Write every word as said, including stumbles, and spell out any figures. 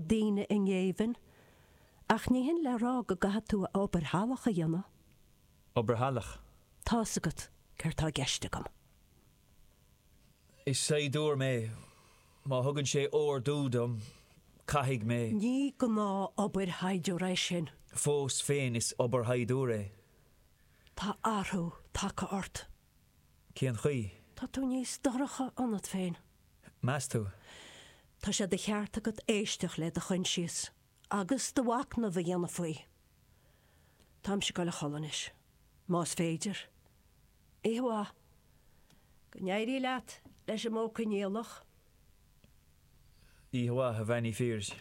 daoine i ngéibheann, ach ní hin le rá go gcaithfidh tú obair shalach a dhéanamh. Obair shalach? Tá's agat céard tá i gceist agam. Is saighdiúir mé. Má thugann sé ordú dom, caithfidh mé. Ní gnáth-obair shaighdiúra é sin. Fós féin is obair shaighdiúra é. Tá athrú tagtha ort. Cén chaoi? Tá tú níos dorcha ionat féin. Meas tú? Tá sé de cheart agat éisteacht le do choinsias agus do mhachnamh a dhéanamh faoi. Táimse ag dul a chodladh anois, más féidir. Oíche mhaith. Go n-éirí leat leis an modh coinníollach. Oíche mhaith, a Bhean Uí Phiarais.